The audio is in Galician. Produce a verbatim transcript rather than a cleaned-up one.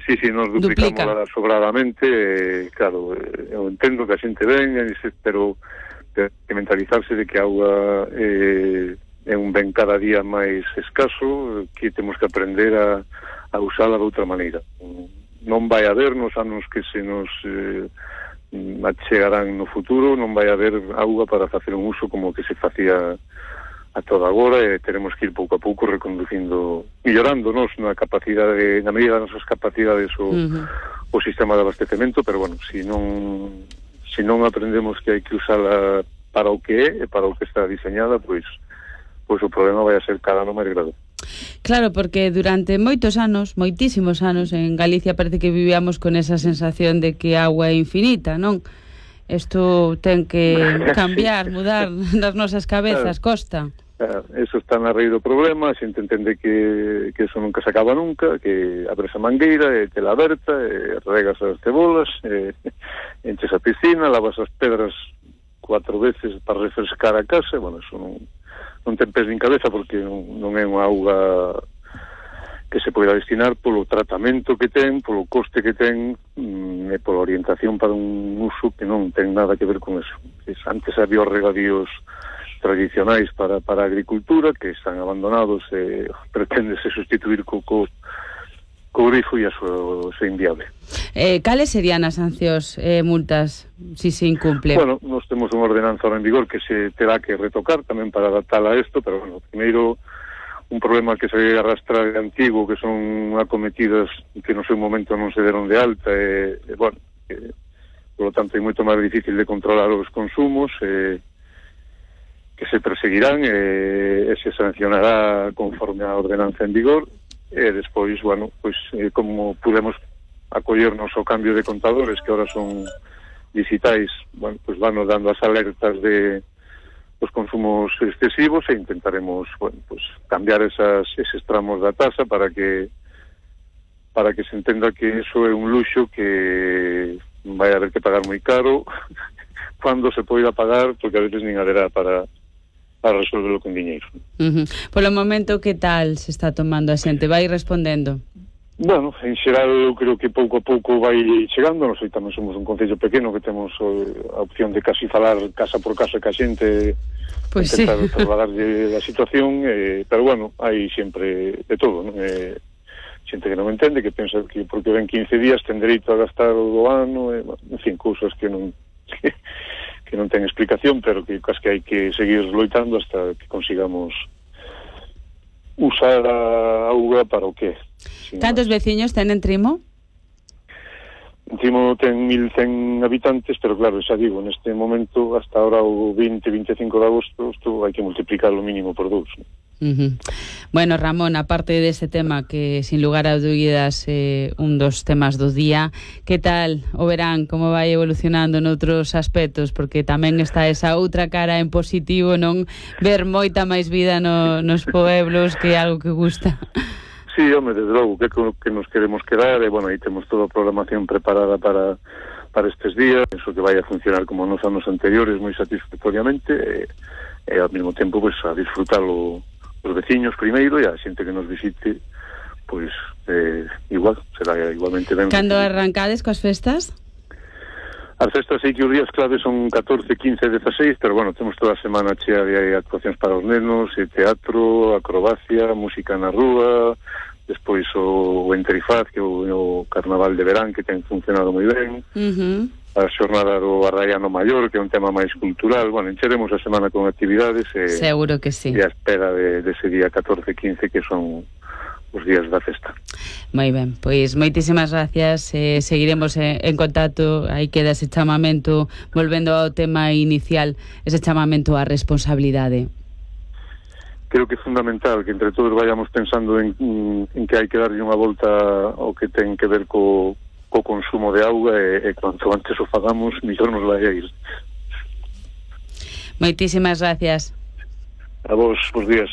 Sí, sí, nos duplicamos sobradamente, eh, claro, eh, eu entendo que a xente venga, pero que mentalizarse de que a auga eh, é un ben cada día máis escaso, que temos que aprender a, a usala de outra maneira. Non vai haber nos anos que se nos eh, achegarán no futuro, non vai haber auga para facer un uso como que se facía a toda agora, e teremos que ir pouco a pouco reconducindo, millorando nos na capacidade, na medida das nosas capacidades o, uh-huh. o sistema de abastecemento, pero bueno, se si non se si non aprendemos que hai que usala para o que é e para o que está diseñada, pois pois o problema vai a ser cada ano máis grave. Claro, porque durante moitos anos, moitísimos anos, en Galicia parece que vivíamos con esa sensación de que a auga é infinita, non? Isto ten que cambiar, sí. mudar nas nosas cabezas, claro. Costa. Claro, eso está na raíz do problema, a xente entende que, que eso nunca se acaba nunca, que abres a mangueira, e te la aberta, e regas as cebolas, e enches a piscina, lavas as pedras cuatro veces para refrescar a casa, e, bueno, eso non, non ten pés nin cabeza, porque non, non é unha auga que se poida destinar polo tratamento que ten, polo coste que ten, e pola orientación para un uso que non ten nada que ver con eso. Antes había os regadíos tradicionais para, para a agricultura, que están abandonados, e pretendese sustituir co, co, co grifo, e eso é inviable. Eh, cales serían as sancións e eh, multas si se incumple? Bueno, nós temos unha ordenanza en vigor que se terá que retocar tamén para adaptala a isto, pero bueno, primeiro un problema que se arrastra de antigo, que son acometidas que no seu momento non se deron de alta, e, e bueno, e, por lo tanto é moito máis difícil de controlar os consumos, e, que se perseguirán e, e se sancionará conforme a ordenanza en vigor, e despois, bueno, pois eh, como podemos acollernos ao cambio de contadores que ahora son digitais, bueno, pois vanos dando as alertas de os consumos excesivos, e intentaremos, bueno, pues cambiar esas, eses tramos da tasa para que para que se entenda que eso é un luxo que vai haber que pagar moi caro cando se poida pagar, porque a veces nin haberá para para resolverlo con diñeiro. Uh-huh. Por o momento, que tal se está tomando a xente? Vai respondendo? Bueno, en xeral eu creo que pouco a pouco vai chegando. Nós tamén somos un concello pequeno que temos a opción de casi falar casa por casa ca xente, pues intentar sí. trasladarlle a situación, eh, pero bueno, hai sempre de todo, non? Eh, xente que non entende, que pensa que porque ven quince días ten dereito a gastar o do ano, eh, en fin, cousas que non que, que non ten explicación, pero que cas que hai que seguir loitando hasta que consigamos usar a auga para o que é. Cantos veciños ten en Trimo? En Trimo ten mil cen habitantes, pero claro, xa digo, neste momento, hasta ahora o veinte, veinticinco de agosto, isto hai que multiplicar o mínimo por dous. Uh-huh. Bueno, Ramón, aparte dese tema que, sin lugar a dúbidas, é eh, un dos temas do día, que tal o verán, como vai evolucionando noutros aspectos? Porque tamén está esa outra cara en positivo, non? Ver moita máis vida no, nos pueblos, que é algo que gusta. Sí, home, desde logo, que, que nos queremos quedar, e, bueno, aí temos toda a programación preparada para, para estes días, penso que vai a funcionar como nos anos anteriores, moi satisfactoriamente, e, e ao mesmo tempo, pues, a disfrutalo os veciños primeiro, e a xente que nos visite, pois, eh, igual, será igualmente ben. Cando arrancades coas festas? As festas sei que os días clave son catorce, quince, dezaseis, pero bueno, temos toda a semana chea de actuacións para os nenos, e teatro, acrobacia, música na rúa, despois o, o Enterifaz, que é o, o carnaval de verán, que ten funcionado moi ben, uh-huh. a xornada do Arraiano Maior, que é un tema máis cultural. Bueno, encheremos a semana con actividades, e, seguro que sí, e a espera de, de ese día catorce, quince, que son os días da festa. Moi ben, pois moitísimas gracias, eh, seguiremos en, en contacto. Aí queda ese chamamento, volvendo ao tema inicial, ese chamamento á responsabilidade. Creo que é fundamental que entre todos vayamos pensando en, en que hai que darlle unha volta ao que ten que ver co, co consumo de auga, e, e cuanto antes o fagamos, mellor nos vai a ir. Moitísimas gracias. A vos, bons días.